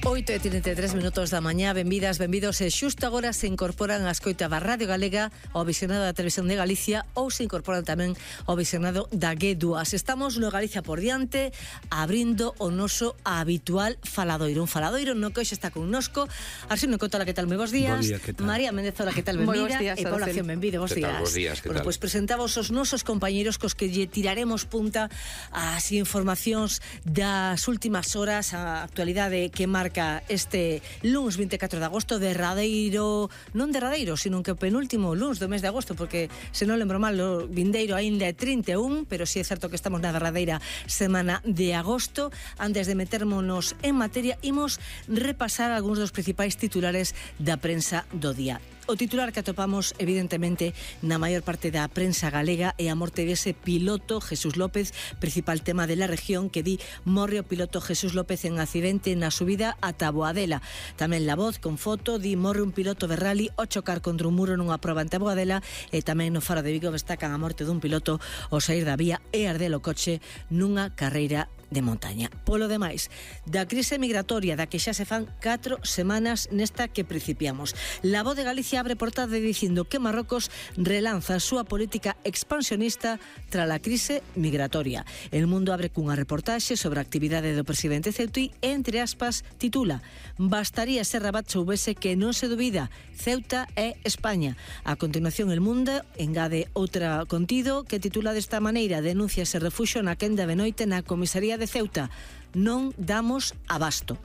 8:33 da mañá, benvidas, benvidos. E xusto agora se incorporan a escoita da Radio Galega, ao visionado da Televisión de Galicia, ou se incorporan tamén ao visionado da G2. Estamos no Galicia por diante, abrindo o noso habitual faladoiro. Un faladoiro no que hoxe está connosco Arsenio Cotola, que tal? Moi bons días. Bom día, que tal? María Méndez, hola, que tal? Benvida. E Paula Acción, benvide, bons días. Bos días, que tal? Pois presentamos os nosos compañeiros cos que lle tiraremos punta ás informacións das últimas horas, a actualidade que marca este luns 24 de agosto, derradeiro, non derradeiro, sino que o penúltimo luns do mes de agosto, porque se non lembro mal, o vindeiro aínda é 31, pero si é certo que estamos na derradeira semana de agosto. Antes de metermonos en materia, imos repasar algúns dos principais titulares da prensa do día. O titular que atopamos, evidentemente, na maior parte da prensa galega é a morte dese piloto Jesús López, principal tema de la región, que di morre o piloto Jesús López en accidente na subida a Taboadela. Tamén La Voz, con foto, di morre un piloto de rally ao chocar contra un muro nunha proba en Taboadela, e tamén no Faro de Vigo destacan a morte dun piloto ao sair da vía e arder o coche nunha carreira de montaña. Polo demais, da crise migratoria da que xa se fan 4 semanas nesta que principiamos. La Voz de Galicia abre portada dicindo que Marrocos relanza a súa política expansionista tras a crise migratoria. El Mundo abre cunha reportaxe sobre a actividade do presidente Ceuta e, entre aspas, titula: bastaría ser Rabat soubese que non se dubida, Ceuta é España. A continuación, El Mundo engade outra contido que titula desta maneira: denuncias e refuxo na quenda de noite na comisaría de Ceuta, non damos abasto.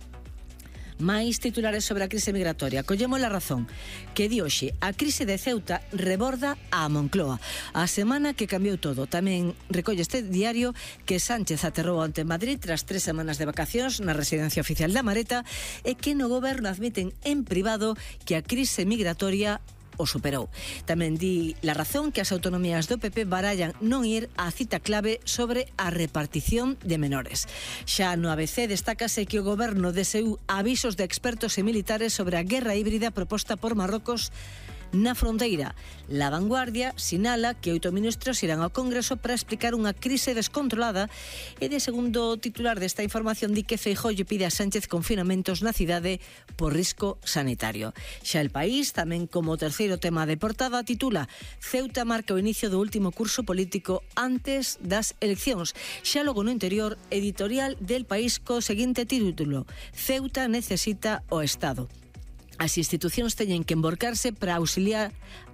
Mais titulares sobre a crise migratoria. Collemos La Razón, que di hoxe: a crise de Ceuta reborda a Moncloa. A semana que cambiou todo. Tamén recolle este diario que Sánchez aterrou ante Madrid tras 3 semanas de vacacións na residencia oficial da Mareta, e que no goberno admiten en privado que a crise migratoria o superou. Tamén di La Razón que as autonomías do PP barallan non ir á cita clave sobre a repartición de menores. Xa no ABC destácase que o goberno deseu avisos de expertos e militares sobre a guerra híbrida proposta por Marrocos na fronteira. La Vanguardia sinala que 8 ministros irán ao Congreso para explicar unha crise descontrolada, e de segundo titular desta información di que Feijóo lle pide a Sánchez confinamentos na cidade por risco sanitario. Xa El País, tamén como terceiro tema de portada, titula: Ceuta marca o inicio do último curso político antes das eleccións. Xa logo no interior, editorial del País co seguinte título: Ceuta necesita o Estado. As institucións teñen que emborcarse para auxiliar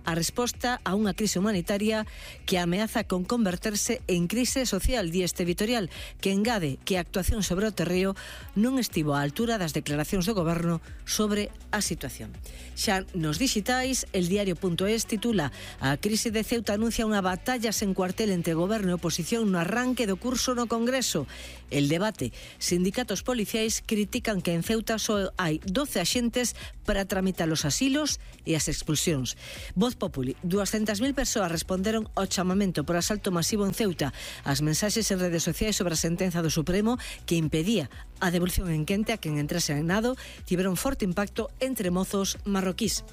a resposta a unha crise humanitaria que ameaza con converterse en crise social, di este editorial, que engade que a actuación sobre o terreo non estivo á altura das declaracións do goberno sobre a situación. Xa nos dixitais, el diario.es titula: a crise de Ceuta anuncia unha batalla sen cuartel entre goberno e oposición no arranque do curso no Congreso. El debate. Sindicatos policiais critican que en Ceuta só hai 12 axentes para tramitar os asilos e as expulsións. Voz Populi: 200.000 persoas responderon ao chamamento por asalto masivo en Ceuta. As mensaxes en redes sociais sobre a sentenza do Supremo que impedía a devolución en quente a quen entrase en nado tiveron forte impacto entre mozos marroquís.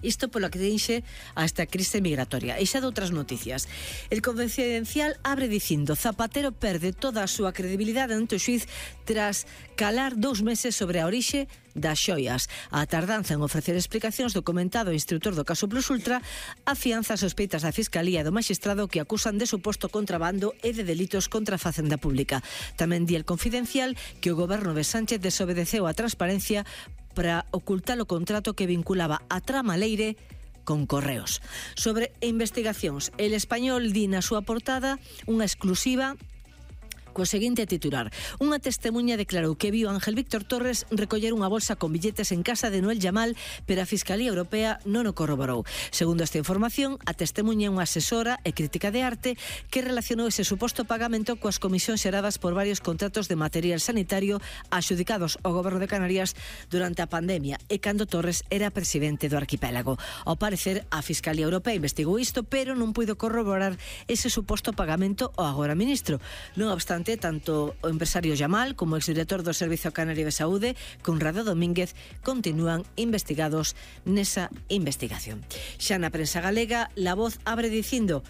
Isto polo que deixe a esta crise migratoria. E xa de outras noticias. El Confidencial abre dicindo: Zapatero perde toda a súa credibilidade ante o xuiz tras calar 2 meses sobre a orixe das xoias. A tardanza en ofrecer explicacións do comentado instrutor do caso Plus Ultra afianza as sospeitas da Fiscalía e do magistrado que acusan de suposto contrabando e de delitos contra a Facenda Pública. Tamén di El Confidencial que o goberno de Sánchez desobedeceu a transparencia para ocultar o contrato que vinculaba a trama Leire con Correos. Sobre investigacións, El Español di na súa portada unha exclusiva co seguinte titular: unha testemuña declarou que viu Ángel Víctor Torres recoller unha bolsa con billetes en casa de Noel Yamal, pero a Fiscalía Europea non o corroborou. Segundo esta información, a testemuña é unha asesora e crítica de arte que relacionou ese suposto pagamento coas comisións xeradas por varios contratos de material sanitario adxudicados ao Goberno de Canarias durante a pandemia e cando Torres era presidente do arquipélago. Ao parecer, a Fiscalía Europea investigou isto, pero non puido corroborar ese suposto pagamento ao agora ministro. Non obstante, tanto o empresario Yamal como o exdirector do Servizo Canario de Saúde, Conrado Domínguez, continúan investigados nesa investigación. Xa na prensa galega, La Voz abre dicindo: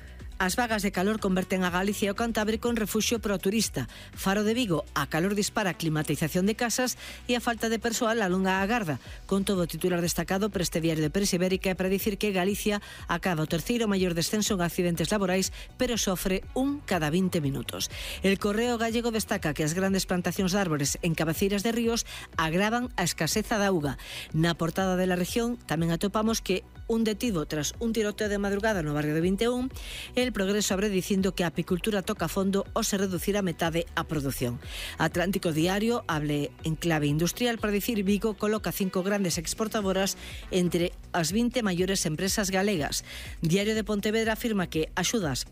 As vagas de calor converten a Galicia e o Cantábrico en refugio pro turista. Faro de Vigo, a calor dispara a climatización de casas e a falta de persoal alonga a garda. Con todo, o titular destacado para este diario de Prensa Ibérica é para dicir que Galicia acaba o terceiro maior descenso en accidentes laborais, pero sofre un cada 20 minutos. El Correo Gallego destaca que as grandes plantacións de árbores en cabeceiras de ríos agravan a escaseza da auga. Na portada de La Región tamén atopamos que un detido tras un tiroteo de madrugada no barrio de 21, El Progreso abre dicindo que a apicultura toca a fondo ou se reducirá a metade a produción. Atlántico Diario hable en clave industrial para dicir Vigo coloca 5 grandes exportadoras entre as 20 maiores empresas galegas. Diario de Pontevedra afirma que axudas,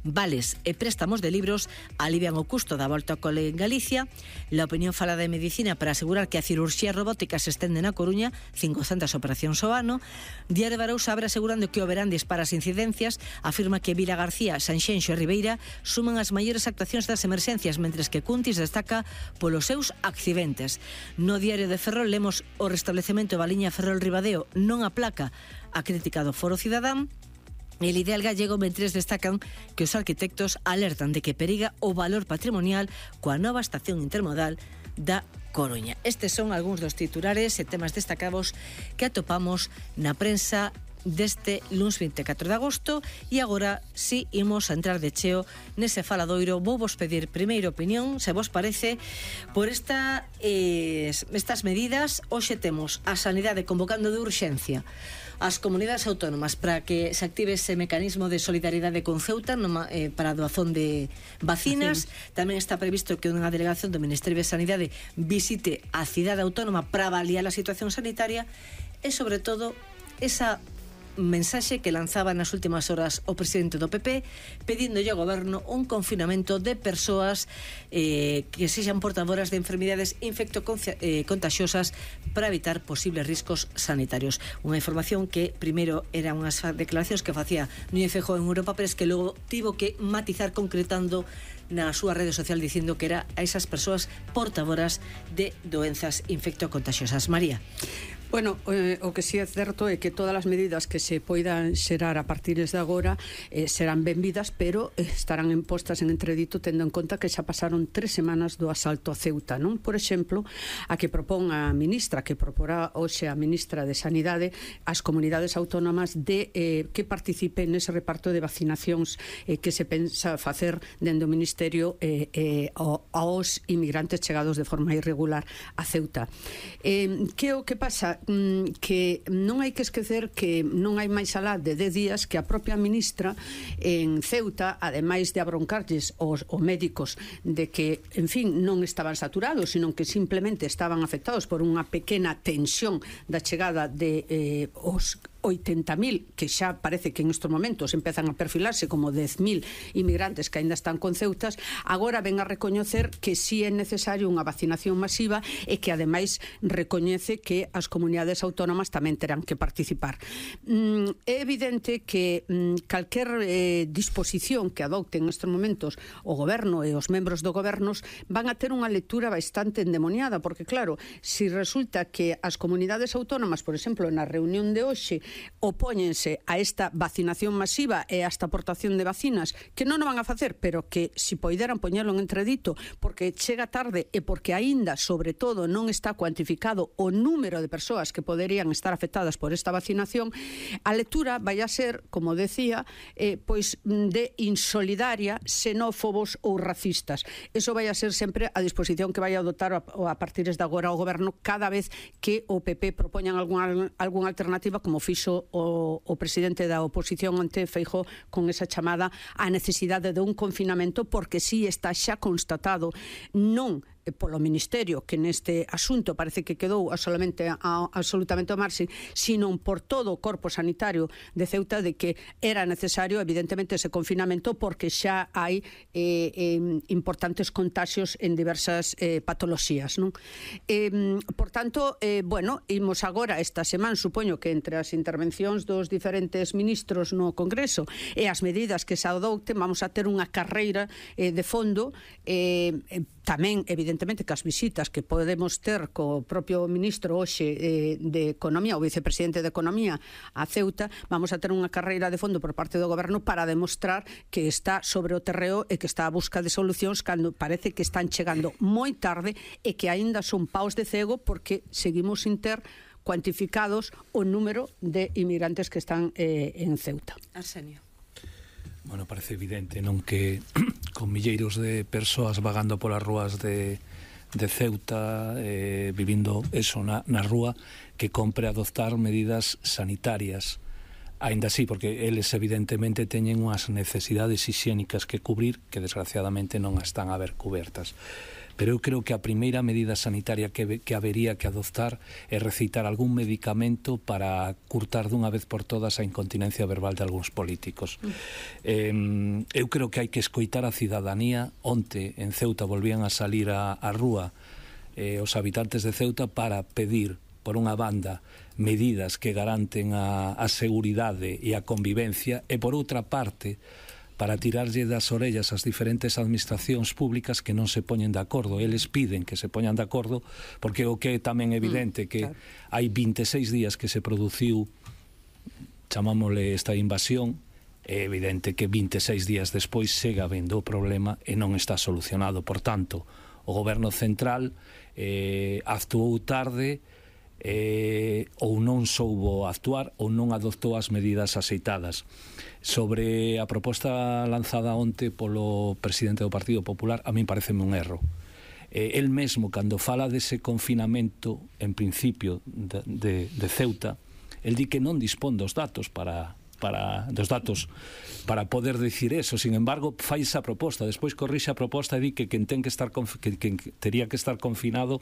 vales e préstamos de libros alivian o custo da volta ao cole en Galicia. La Opinión fala de medicina para asegurar que a cirurxía robótica se estende na Coruña, 500 operacións ao ano. Diario de Arousa abre asegurando que o verán dispara as incidencias, afirma que Vila García, Sanxenxo e Ribeira suman as maiores actuacións das emerxencias, mentres que Cuntis destaca polos seus accidentes. No Diario de Ferrol lemos o restablecemento da liña Ferrol-Ribadeo non aplaca a crítica do Foro Cidadán. El Ideal Gallego mentres destacan que os arquitectos alertan de que periga o valor patrimonial coa nova estación intermodal da Coruña. Estes son algúns dos titulares e temas destacados que atopamos na prensa deste luns 24 de agosto e agora si imos a entrar de cheo nese faladoiro. Vou vos pedir primeira opinión, se vos parece, por estas medidas. Hoxe temos a Sanidade convocando de urxencia as comunidades autónomas para que se active ese mecanismo de solidaridade con Ceuta para a doazón de vacinas. Tamén está previsto que unha delegación do Ministerio de Sanidade visite a cidade autónoma para avaliar a situación sanitaria e, sobre todo, esa mensaxe que lanzaba nas últimas horas o presidente do PP pedíndolle ao goberno un confinamento de persoas que sexan portadoras de enfermidades infectocontaxiosas para evitar posibles riscos sanitarios. Unha información que primeiro eran unhas declaracións que facía Núñez Feijóo en Europa, pero es que logo tivo que matizar concretando na súa rede social dicindo que era a esas persoas portadoras de doenzas infectocontaxiosas. María. Bueno, o que si é certo é que todas as medidas que se poidan xerar a partir de agora serán benvidas, pero estarán postas en entredito tendo en conta que xa pasaron 3 semanas do asalto a Ceuta, non? Por exemplo, a que propón a ministra, que proporá hoxe a ministra de Sanidade, as comunidades autónomas de que participen nese reparto de vacinacións que se pensa facer dende o Ministerio aos inmigrantes chegados de forma irregular a Ceuta. Que o que pasa? Que non hai que esquecer que non hai máis alá de 10 días que a propia ministra en Ceuta, ademais de abroncarlles os médicos de que, en fin, non estaban saturados, sino que simplemente estaban afectados por unha pequena tensión da chegada de os 80.000, que xa parece que en estos momentos empezan a perfilarse como 10.000 inmigrantes que ainda están con Ceutas, agora ven a recoñecer que sí é necesario unha vacinación masiva e que ademais recoñece que as comunidades autónomas tamén terán que participar. É evidente que calquer disposición que adopten nestes momentos o goberno e os membros do gobernos van a ter unha lectura bastante endemoniada, porque claro, si resulta que as comunidades autónomas, por exemplo, na reunión de hoxe opóñense a esta vacinación masiva e a esta aportación de vacinas, que non o van a facer, pero que si poideran poñelo en entredito porque chega tarde e porque aínda, sobre todo, non está cuantificado o número de persoas que poderían estar afectadas por esta vacinación, a lectura vai a ser, como decía, pois de insolidaria, xenófobos ou racistas. Eso vai a ser sempre a disposición que vai a adoptar a partir de agora o goberno cada vez que o PP propoñan algunha alternativa, como fixo o presidente da oposición ante Feijóo con esa chamada á necesidade de un confinamento, porque si está xa constatado non polo Ministerio, que neste asunto parece que quedou absolutamente ao marxe, sino por todo o corpo sanitario de Ceuta, de que era necesario evidentemente ese confinamento porque xa hai importantes contaxios en diversas patoloxías, non? Por tanto, bueno, imos agora esta semana, supoño que entre as intervencións dos diferentes ministros no Congreso e as medidas que se adopten, vamos a ter unha carreira de fondo tamén, evidentemente, que as visitas que podemos ter co propio ministro hoxe de Economía, o vicepresidente de Economía a Ceuta, vamos a ter unha carreira de fondo por parte do goberno para demostrar que está sobre o terreo e que está a busca de solucións cando parece que están chegando moi tarde e que aínda son paus de cego porque seguimos sin ter cuantificados o número de inmigrantes que están en Ceuta. Arsenio. Bueno, parece evidente, non, que con milleiros de persoas vagando polas rúas de Ceuta, vivindo eso na rúa, que compre adoptar medidas sanitarias. Ainda así, porque eles evidentemente teñen unhas necesidades hixiénicas que cubrir que desgraciadamente non están a ver cubertas. Pero eu creo que a primeira medida sanitaria que habería que adoptar é recitar algún medicamento para curtar dunha vez por todas a incontinencia verbal de algúns políticos. Eu creo que hai que escoitar a cidadanía. Onte en Ceuta volvían a salir á rúa os habitantes de Ceuta para pedir, por unha banda, medidas que garanten a seguridade e a convivencia, e por outra parte, para tirarlle das orellas ás diferentes administracións públicas que non se poñen de acordo. Eles piden que se poñan de acordo porque o que é tamén evidente que hai 26 días que se produciu, chamámosle, esta invasión. É evidente que 26 días despois segue habendo o problema e non está solucionado. Por tanto, o goberno central actuou tarde, ou non soubo actuar ou non adoptou as medidas aceitadas. Sobre a proposta lanzada onte polo presidente do Partido Popular, a min pareceme un erro. El mesmo, cando fala dese confinamento, en principio, de Ceuta, el di que non dispón dos datos para poder dicir eso. Sin embargo, fai esa proposta, despois corrixe a proposta e di que quen tería que estar confinado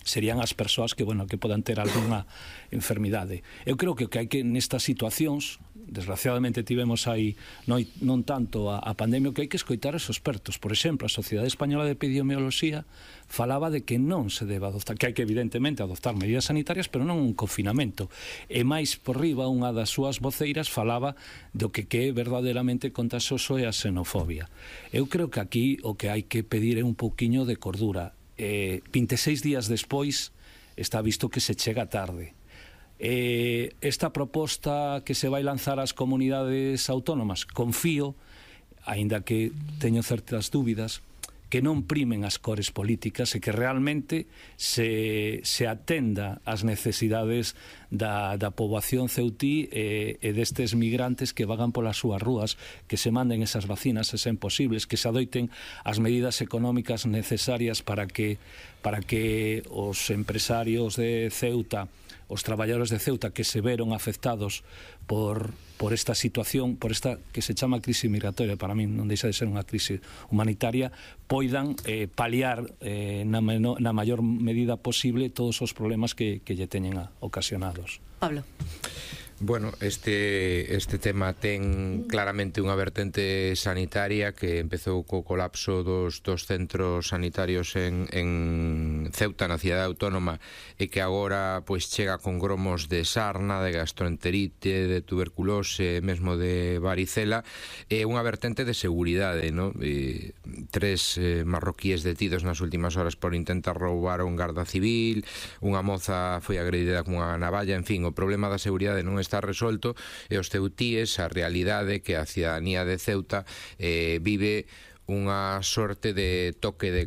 serían as persoas que podan ter algunha enfermidade. Eu creo que hai que, nestas situacións, desgraciadamente tivemos aí non tanto a pandemia, que hai que escoitar os expertos. Por exemplo, a Sociedade Española de Epidemioloxía falaba de que non se debe adoptar, que hai que evidentemente adoptar medidas sanitarias, pero non un confinamento. E máis por riba, unha das súas voceiras falaba do que é verdadeiramente contagioso é a xenofobia. Eu creo que aquí o que hai que pedir é un pouquiño de cordura. 26 días despois está visto que se chega tarde. Esta proposta que se vai lanzar ás comunidades autónomas, confío, aínda que teño certas dúbidas, que non primen as cores políticas e que realmente se atenda ás necesidades da poboación ceutí e destes migrantes que vagan polas súas rúas, que se manden esas vacinas se sen posibles, que se adoiten as medidas económicas necesarias para que os empresarios de Ceuta, os traballadores de Ceuta que se veron afectados por esta situación, por esta que se chama crise migratoria, para min non deixa de ser unha crise humanitaria, poidan paliar na maior medida posible todos os problemas que lle teñen ocasionados. Pablo. Bueno, este tema ten claramente unha vertente sanitaria que empezou co colapso dos centros sanitarios en Ceuta, na cidade autónoma, e que agora pois chega con gromos de sarna, de gastroenterite, de tuberculose, mesmo de varicela, e unha vertente de seguridade, ¿no? 3 marroquíes detidos nas últimas horas por intentar roubar a un garda civil, unha moza foi agredida con unha navalla, en fin, o problema da seguridade non está resolto, e os ceutíes, a realidade que a cidadanía de Ceuta vive unha sorte de toque de